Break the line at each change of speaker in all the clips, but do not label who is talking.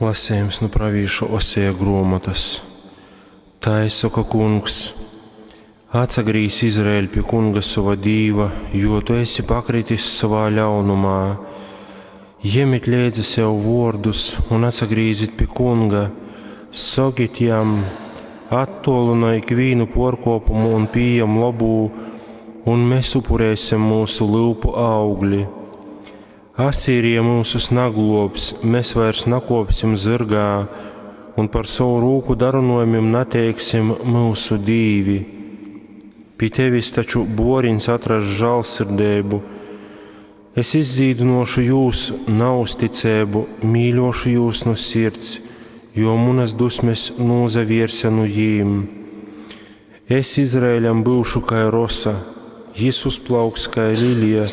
Lasejums nu pravīša Oseja gruomotas. Tai soka Kungs: Atsagrīz, Izraēļ, pi Kunga sova Dīva, jo tu esi pakritis sovā ļaunumā. Jemit leidza sev vuordus un atsagrīzit pi Kunga. Sokit jam: Attolynoj ikvīnu puorkuopumu un pījem lobū, un mes upurēsim myusu lyupu augli. Asīrija myusus nagluobs, mes vairs nakuopsim zyrgā un par sovu rūku darynuojumim nateiksim myusu dīvi. Pi tevis taču buoriņs atrass žālsirdeibu. Es izdzīdynuošu jūs nauzticeibu, mīļuošu jūs nu sirds, jo munas dusmes nūsavierse nu jīm. Es Izraēļam byušu kai rosa, jis uzplauks kai lilija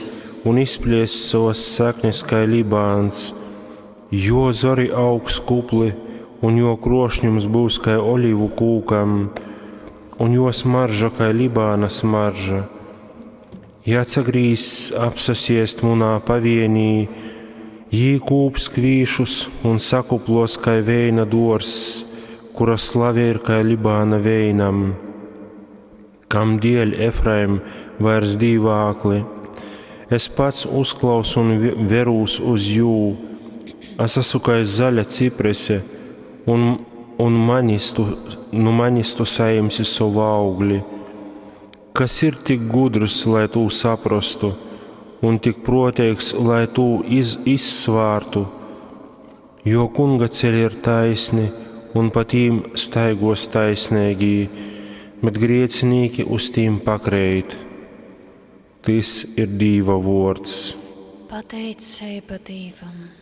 un izpliess sovas saknes kai Libāns. Jo zori augs kupli, un jo krošņums byus kai olivu kūkam, un jo smarža kai Libāna smarža. Ja atsagrīzs apsasiest munā pavienī, jī kūps kvīšus un sakuplos kai veina duorzs, kura slave ir kai Libāna veinam. Kam dēļ, Efraim, vairs dīvākli? Es pats uzklausu un verūs uz jū. Es esmu kai zaļa ciprese, un, un manis tu, nu manis tu sajimsi sovu augli. Kas ir tik gudrs, lai tū saprastu, un tik proteigs, lai tū iz, izsvārtu? Jo kunga ceļi ir taisni, un pa tīm staigos taisneigī, bet griecinīki uz tīm pakreit. Tys ir Dīva vuords.
Pateiceiba Dīvam.